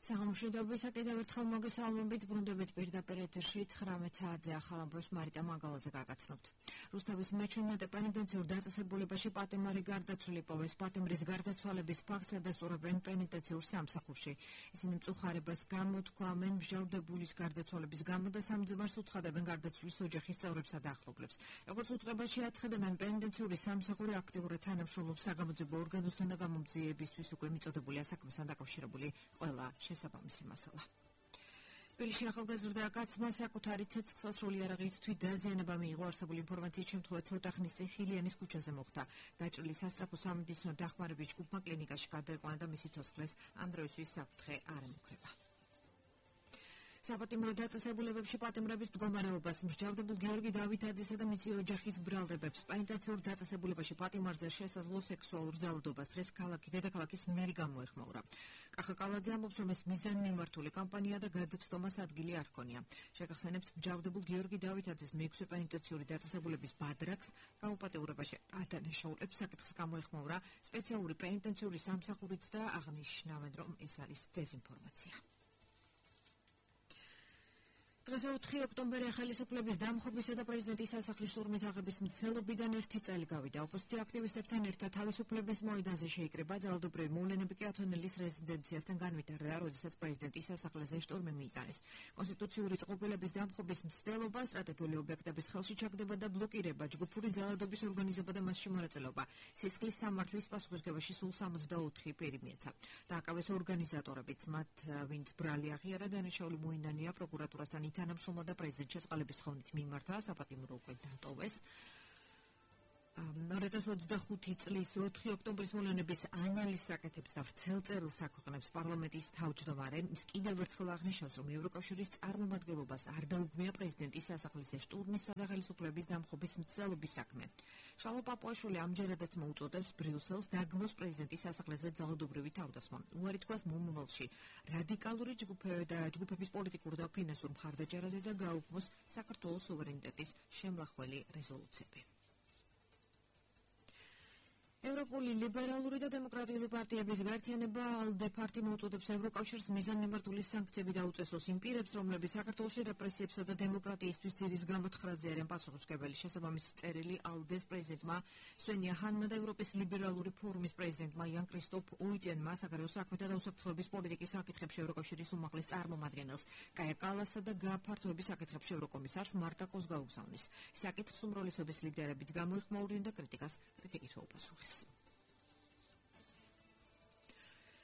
სამშვიდობისა კიდევ ერთხელ მოგესალმებით, ბრუნდებით პირდაპირ ეთერში 19 საათზე ახალ ამბებს მარიტა მანგალაძე გაგაცნობთ. რუსთავის მეჩვენate პენიტენციურ დაწესებულებაში პატიმარი გარდაცვლილი პოვეს. პატიმრის გარდაცვალების ფაქტს ადასტურებენ პენიტენციურ სამსახურში. ისინი მწუხარებას გამოთქვამენ მსჯავრდებულის გარდაცვალების გამო და სამძიმარს უცხადებენ გარდაცვლის ოჯახის წევრებსა და ახლობლებს. როგორც უწყებაში აცხადებენ, პენიტენციური სამსახური აქტიურად თანამშრომლობს საგამოძიებო ორგანოსთან და გამომძიებისთვის უკვე მიწოდებული საქმესთან დაკავშირებული ყველა შესაბამისი მასალა. თბილისში ახალგაზრდა კაცმა საკუთარი ცეცხლსასროლი იარაღით თვით დაზიანება მიიღო. არსებული ინფორმაციით შემთხვევა ცოტა ხნის წინ ხილიანის ქუჩაზე მოხდა. დაჭრილი სასწრაფო სამედიცინო დახმარების ჯგუფმა კლინიკაში გადაეყვანა და მისი ცოცხლეს ამ დროისთვის საფრთხე არ ემუქრება. საპატიმრო დაწესებულებებში პატიმრების მდგომარეობას მსჯავრდებულ გიორგი დავითაძესა და მისი ოჯახის ბრალდებებს პენიტენციურ დაწესებულებაში პატიმარზე შესაძლო სექსუალურ ძალადობას დღეს დედაქალაქის მერი გამოეხმაურა. კახა კალაძე ამბობს, რომ ეს მიზანმიმართული კამპანია და გადაცდომას ადგილი არ ჰქონია. შეგახსენებთ, მსჯავრდებულ გიორგი დავითაძეს მეექვსე პენიტენციური დაწესებულების ბადრაკს გამოპატეურებაში ადანაშაულებს საკითხს გამოეხმაურა სპეციალური პენიტენციური სამსახურით და აღნიშნავენ, რომ ეს არის დეზინფორმაცია. დღეს 4 ოქტომბერი ხელისუფლების დამხობისა და პრეზიდენტის სასახლის შტურმით აღების მცდელობიდან 1 წელი გავიდა. ოპოზიცია აქტივისტებთან ერთად თავისუფლების მოედანზე შეიკრიბა. ძალადობრივი მოვლენები კი ათონელის რეზიდენციასთან განვითარდა, როდესაც პრეზიდენტის სასახლეზე შტურმი მიიტანეს. კონსტიტუციური წყობილების დამხობის მცდელობა, სტრატეგიული ობიექტების ხელში ჩაგდება და ბლოკირება, ჯგუფური ძალადობის ორგანიზება და მასში მონაწილეობა. სისხლის სამართლის პასუხისმგებაში სულ 64 პირი მიეცა. დააკავეს ორგანიზატორებიც, მათ ვინც ბრალი აღიარა, დანაშაული მოინანია პროკურატურასთან თანამშრომლობა და პრეზიდენტ შეწყალების თხოვნით მიმართა. საპატიმრო უკვე დატოვეს. 2025 წლის 4 ოქტომბრის მოვლენების ანალიზს აკეთებს და ვრცელ წერილს აქვეყნებს პარლამენტის თავმჯდომარე. ის კიდევ ერთხელ აღნიშნავს, რომ ევროკავშირის წარმომადგენლობას არ დაუგმია პრეზიდენტის სასახლეზე შტურმის და ხელისუფლების დამხობის მცდელობის საქმე. შალვა პაპუაშვილი ამჯერადაც მოუწოდებს ბრიუსელს დაგმოს პრეზიდენტის სასახლეზე ძალადობრივი თავდასხმა. უარი თქვას მომავალში რადიკალური ჯგუფების პოლიტიკურ და ფინანსურ მხარდაჭერაზე და გაუქმოს საქართველოს სუვერენიტეტის შემლახველი რეზოლუციები. ევროპული ლიბერალური და დემოკრატიული პარტიების გაერთიანება ALDE პარტია მოუწოდებს ევროკავშირს მიზანმიმართული სანქციები დაუწესოს იმ პირებს, რომლებიც საქართველოში რეპრესიებსა და დემოკრატიისთვის ძირის გამოთხრაზე არიან პასუხისმგებელი. შესაბამისი წერილი ALDE-ს პრეზიდენტმა სვენია ჰანმა და ევროპის ლიბერალური ფორუმის პრეზიდენტმა იან კრისტოფ უიტენმა საგარეო საქმეთა და უსაფრთხოების პოლიტიკის საკითხებში ევროკავშირის უმაღლეს წარმომადგენელს კაია კალასსა და გაფართოების საკითხებში ევროკომისარს მარტა კოს გაუგზავნეს. საკითხს უმრავლესობის ლიდერებიც გამოეხმაურნენ და კრიტიკით უპასუხეს.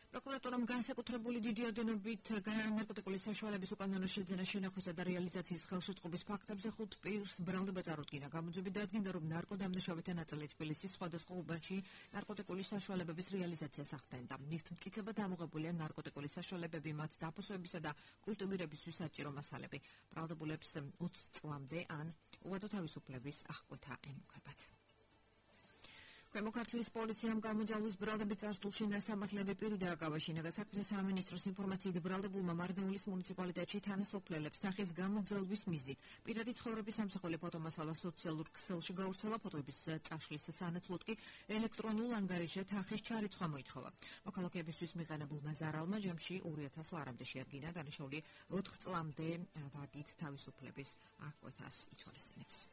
პროკურატურამ განსაკუთრებული დიდი ოდენობით ნარკოტიკული საშუალების უკანონო შეძენა, შენახვისა და რეალიზაციის ხელშეწყობის ფაქტებზე 5 პირს ბრალდება წარუდგინა. გამოძიები დადგინდა, რომ ნარკოდამნაშავეთა ნაწილი თბილისის სხვადასხვა უბანში ნარკოტიკული საშუალებების რეალიზაციას ახდენდა. ნივთმტკიცებად ამოღებულია ნარკოტიკული საშუალებები, მათ დაფოსოებისა და კულტივირებისთვის საჭირო მასალები. ბრალდებულებს 20 წლამდე ან უვადო თავისუფლების აღკვეთა ემუქრებათ. ქვემო ქართლის პოლიციამ გამოძალვის ბრალდების წარსულში ნასამართლები პირი დააკავა. შინაგან საქმეთა სამინისტროს ინფორმაციით ბრალდებულმა მარნეულის მუნიციპალიტეტში თანასოფლელებს თანხის გამოძალვის მიზნით პირადი ცხოვრების სამსახური ფოტომასალა სოციალურ ქსელში გავრცელა. ფოტოების წაშლის სანაცვლოდ კი ელექტრონულ ანგარიშზე თანხის ჩარიცხვა მოითხოვა. მოქალაქეებისთვის მიყენებულმა ზარალმა ჯამში 2000 ლარამდე შეადგინა. დანაშაული 4 წლამდე ვადით თავისუფლების აღკვეთას ითვალისწინებს.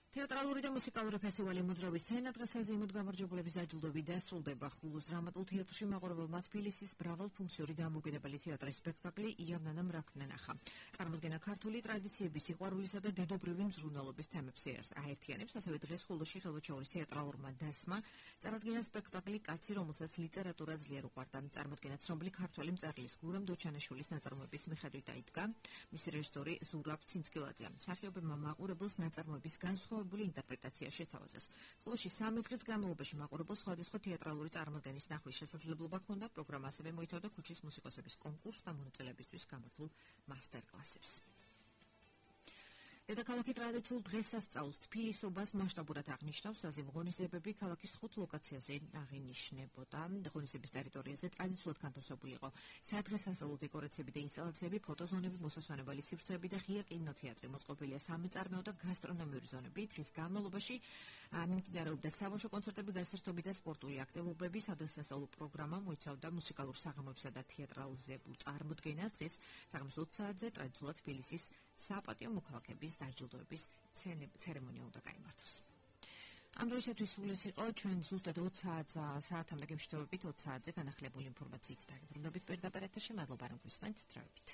თეატრალური და მუსიკალური ფესტივალი მოძრაობის სცენა დღეს საზეიმოდ გამარჯვებულების დაჯილდოებით დასრულდება. ხულოს დრამატულ თეატრში მაყურებელმა თბილისის მრავალფუნქციური დამოუკიდებელი თეატრის სპექტაკლი იავნანამ რაქნენახა. წარმოდგენა ქართული ტრადიციების, სიყვარულისა და დედობრივი მზრუნველობის თემებს აერთიანებს. ასევე დღეს ხულოში ხელვაჩაურის თეატრალურმა დასმა წარადგინა სპექტაკლი კაცი, რომელსაც ლიტერატურა ძლიერ უყვარდა. წარმოდგენა ცნობილი ქართველი მწერლის გურამ დოჩანაშვილის ნაწარმოების მიხედვით დაიდგა. მისი რეჟისორი ზურაბ ცინცკილაძეა. მსახიობებმა მაყურებელს ნაწარმოების განსხვავებული ინტერპრეტაცია შესთავაზეს. ხულოში 3 დღის განმავლობაში მაყურებელს სხვადასხვა თეატრალური წარმოდგენის ნახვის შესაძლებლობა ჰქონდა. პროგრამა ასევე მოიცავდა ქუჩის მუსიკოსების კონკურსს და მონაწილეებისთვის გამართულ მასტერკლასებს. დედაქალაქი ტრადიციულ დღესასწაულს თბილისობას მასშტაბურად აღნიშნავს, საზეიმო ღონისძიებები ქალაქის 5 ლოკაციაზე აღინიშნებოდა. ღონისძიების ტერიტორიაზე ტრადიციულად განთავსებული იყო სადღესასწაულო დეკორაციები და ინსტალაციები, ფოტოზონები, მოსასვენებელი სივრცეები და ღია კინოთეატრი. მოწყობილია სამეწარმეო და გასტრონომიური ზონები. დღის განმავლობაში მიმდინარეობდა საბავშვო კონცერტები, გასართობი და სპორტული აქტივობები. სადღესასწაულო პროგრამა მოიცავდა მუსიკალურ საღამოებსა და თეატრალიზებულ წარმოდგენას. დღეს საღამოს 20 საათზე ტრადიციულად თბილისის საპატიო მოქალაქეების დაჯილდოების ცერემონია უნდა გაიმართოს. ამ დროისათვის სულ ეს იყო ჩვენ ზუსტად 20 საათამდე გემშვიდობებით 20 საათზე განახლებული ინფორმაციით დაგიბრუნდებით პირდაპირ ეთერში. მადლობა რომ გვისმენთ. დროებით.